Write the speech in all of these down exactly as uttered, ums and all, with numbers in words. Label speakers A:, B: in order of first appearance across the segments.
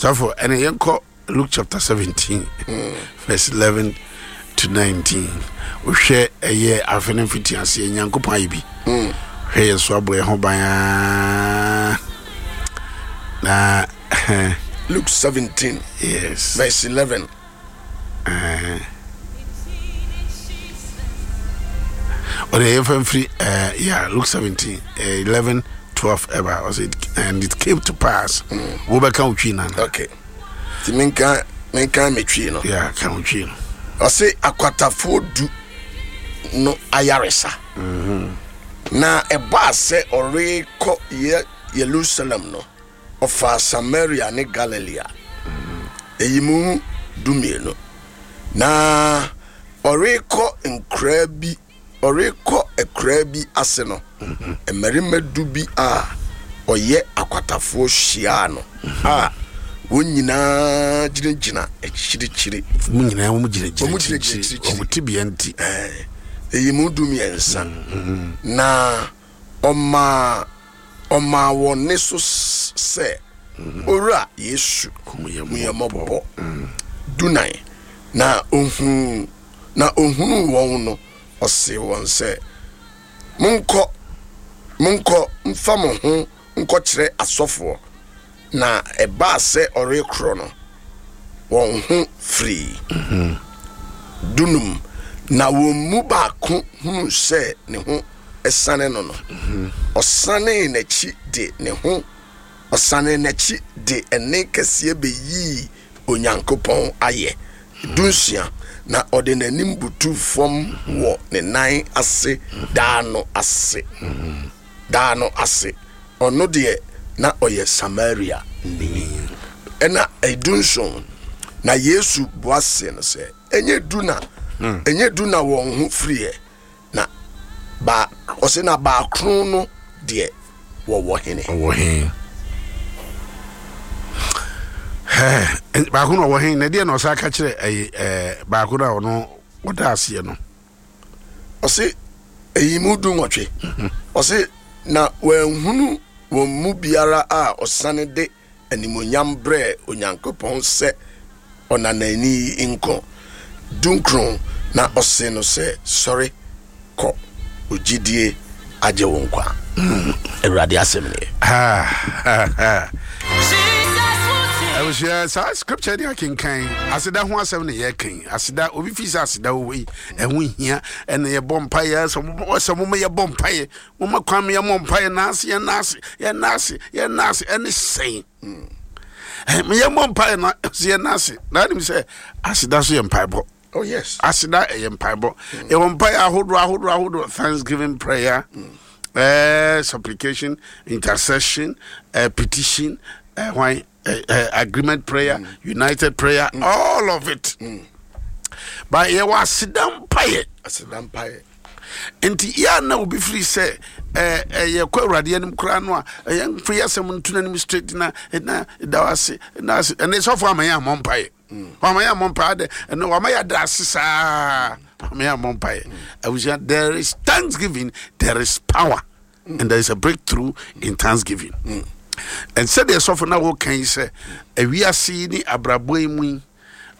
A: Sɔfo, ɛne yɛnkɔ Luke chapter seventeen verse eleven to nineteen. Wohwɛ ɛyɛ afe no mfitiaseɛ, Nyankopɔn ayɛ bi. Hwɛ yɛn so, abɔ yɛn ho ban aa na
B: Luke seventeen
A: yes
B: verse eleven.
A: Ɔde yɛmfa mfiri uh, yeah, Luke seventeen uh, eleven twelve ɛba. Ɔsɛ, "And it came to pass." Wobɛka wo Twi nana.
B: Okay, nti menka menka metwi no.
A: Yeah, ka wo Twi no.
B: Ɔse akwatafoɔ du no ayaresa. Na ɛbaa sɛ ɔrekɔ yɛ Yerusalem no, ɔfaa Samaria ne Galilea. Ɛyi mu dumienu. Na ɔrekɔ nkuraa bi ɔrekɔ akuraa bi ase no, mmarima du bi a ɔyɛ akwatafoɔ hyiaa no a wɔn nyinaa gyinagyina akyirikyiri.
A: Mu nyinaa wɔn gyinagyina
B: Wɔn gyinagyina
A: akyirikyiri.
B: akyirikyiri.
A: Wɔn tibea nti.
B: Ɛɛ, ɛyi mu du mmiɛnsa. Na ɔmaa ɔmaa wɔn ne so s- sɛ, "Owura Yesu,
A: hu yɛn
B: hu yɛn mmɔbɔ." Dunan. Na ohuu na ohunuu wɔn no, ɔsee wɔn sɛ, monkɔ monkɔ mfa mo ho nkɔkyerɛ asɔfoɔ." Na ɛbaa sɛ ɔrekorɔ no, wɔn ho firii. Dunum. Na wɔn mu baako hunu sɛ ne ho ɛsane no no ɔsanee n'akyi de ne ho ɔsane n'akyi de ɛne kɛseɛ bɛyii Onyankopɔn ayɛ. Dunsia. Na ɔde n'anim butu fam wɔ ne nan ase daa no ase daa no ase. Ɔno deɛ, na ɔyɛ Samaria ni. Ɛna ɛdunson. Na Yesu bua se no sɛ, ɛnyɛ du na ɛnyɛ du na wɔn ho firiɛ? Na ba ɔsɛ na baakron no deɛ, wɔwɔ hene?
A: Ɔwɔ he? Hɛ, baako na ɔwɔ he? Na deɛ na ɔsa ka kyerɛ ɛyi ɛɛ baako na ɔno ɔda aseɛ no?
B: Ɔse ɛyi mu du nwɔtwe. Ɔse na wɔanhunu wɔn mu biara a ɔsane de animonyam brɛɛ Onyankopɔn sɛ ɔnanani yi nko. Dunkron. Na ɔse no sɛ, "Sɔre kɔ, ogyidie agye wo nkwa." Awurade asɛm nie.
A: Abusua, saa scripture de akenkan aseda ho asɛm ne yɛkan aseda. Obi fi sɛ aseda wɔ yi ɛho hia, ɛna yɛbɔ mpaeɛ sɛ mo- sɛ moma yɛbɔ mpaeɛ, moma kwan ma yɛmmɔ mpaeɛ naase, yɛnaase, yɛnaase, yɛnaase. Ɛne sɛn? Ɛ, yɛmmɔ mpaeɛ na sɛ yɛnaase na anim sɛ aseda so yɛ mpaebɔ.
B: Oh yes.
A: Aseda ɛyɛ mpaebɔ. Yɛwɔ mpaeɛ ahodoɔ ahodoɔ ahodoɔ: thanksgiving prayer, eh, supplication, intercession, eh, petition, eh, why, eh, eh, agreement prayer, united prayer, all of it. But yɛwɔ aseda mpaeɛ.
B: Aseda mpaeɛ.
A: Nti yɛa na obi firi sɛ eh, eh, yɛkɔ Awurade anim koraa no a, ɛyɛ mfa yɛ asɛm nto n'anim straight na na da wo ase na ase. Ɛnɛ sɔfo ama yɛ ammɔ mpaeɛ, wama yɛ ammɔ mpaeɛ adɛ. Ɛnɛ wama yɛ ada ase saa, wama yɛ ammɔ mpaeɛ. Abusua, there is thanksgiving, there is power and there is a breakthrough in thanksgiving. And sɛdeɛ sɔfo na wɔka yi sɛ awiase yi ne abrabɔ yi mu yi,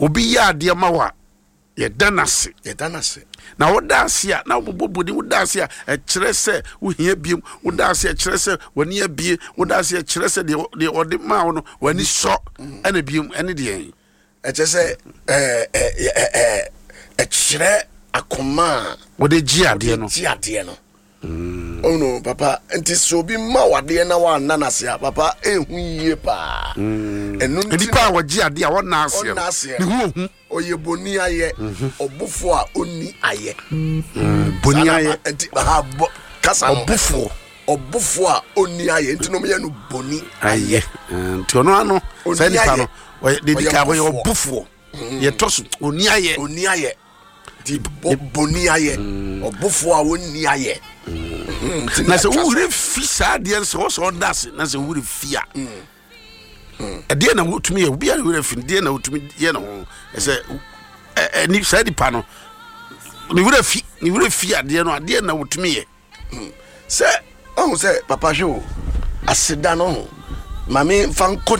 A: obi yɛ adeɛ ma wo a, yɛda n'ase.
B: Yɛda no ase.
A: Na woda ase a, na wobobɔ bɔni. Woda ase a, ɛkyerɛ sɛ wohia biem. Woda ase a, ɛkyerɛ sɛ w'ani abie. Woda ase a, ɛkyerɛ sɛ deɛ deɛ ɔde maa wo no, w'ani sɔ. Ɛna biem ɛne deɛ
B: Ɛkyɛ sɛ ɛɛ, ɛ, ɛ, ɛ, ɛkyerɛ akoma a
A: wode gye adeɛ no.
B: Gye adeɛ no. Ɔno papa, nti sɛ obi ma wo adeɛ na woanna no ase a, papa, ɛhu yie paa. Ɛno nti
A: nipa a wɔgye adeɛ a wɔnna aseɛ
B: ɔnna
A: no
B: aseɛ
A: ne ho ohu.
B: Ɔyɛ boni ayɛ, ɔbofoɔ a ɔnni ayɛ.
A: Boni
B: Saa na
A: ayɛ.
B: ma- nti ha bɔ kasa no.
A: Ɔbofoɔ.
B: Ɔbofoɔ a ɔnni ayɛ, nti na ɔmyɛ no boni.
A: Ayɛ. Nti ɔno ano
B: Ɔnni
A: saa nipa
B: ayɛ.
A: no, ɔyɛ deɛ di
B: Ɔyɛ
A: kan, ɔyɛ
B: ɔbofoɔ.
A: ɔbofoɔ. Yɛtɔ so, ɔnni ayɛ.
B: Ɔnni ayɛ, nti bɔ- boni ayɛ, ɔbofoɔ a ɔnni ayɛ. Mhm, nti
A: Na sɛ
B: atwa so.
A: wowerɛ fi saa adeɛ no, sɛ wɔ sɛ ɔda ase na sɛ wowerɛ fi a, ɛdeɛ na wotumi yɛ? Obiara ne werɛ fi no, deɛ na wotumi yɛ ne ho ɛsɛ ɛ- ɛ- ni- saa nipa no ne werɛ fi ne werɛ fi adeɛ no, adeɛ na wotumi yɛ?
B: Sɛ ɔhu sɛ, papa, hwɛ o, aseda no ho maame mfa nkɔ.